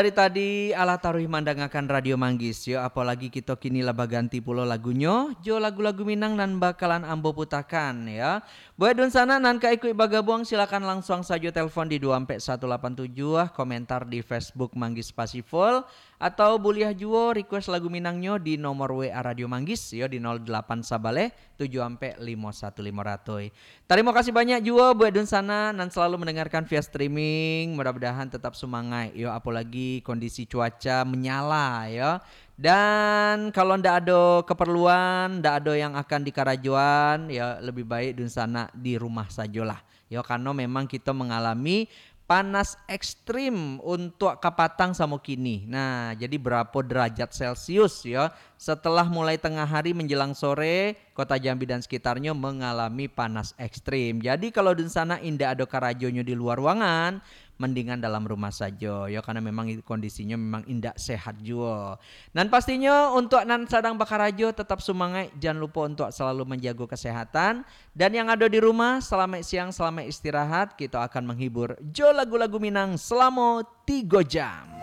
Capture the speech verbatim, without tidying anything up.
Dari tadi alah taruih mandangakan Radio Manggis, yo, apolagi kito kini lah baganti pulo lagunyo, jo lagu-lagu Minang nan bakalan ambo putakan, yo. Buek dunsanak nan ka ikuik bagabuang, silakan lansuang sajo telfon di dua ampek satu lapan tujuh, komentar di Facebook Manggis Pasiful, atau buliah juo request lagu Minangnyo di nomor W A Radio Manggis, yo, di nol delapan sabaleh tujuh ampek limo satu limo ratus. Tarimo kasih banyak juo buek dunsanak nan salalu mandangarkan via streaming. Mudah-mudahan tetap sumangaik, yo, apolagi kondisi cuaca manyala, yo. Dan kalau ndak ado keperluan, ndak ado yang akan dikarajoan, yo, lebih baik dunsanak di rumah sajolah. Yo, karano memang kito mangalami panas ekstrim untuak kapatang samo kini. Nah, jadi barapo derajat Celcius, yo? Setelah mulai tengah hari menjelang sore, Kota Jambi dan sekitarnyo mangalami panas ekstrim. Jadi, kalau dunsanak indak ado karajonyo di lua ruangan, mendingan dalam rumah sajo, yo, karano memang kondisinyo memang indak sehat juo. Nan pastinyo, untuak nan sadang bakarajo, tetap sumangaik, jan lupo untuak salalu manjago kesehatan. Dan yang ado di rumah, salamaik siang, salamaik istirahat. Kito akan menghibur jo lagu-lagu Minang selamo tigo jam.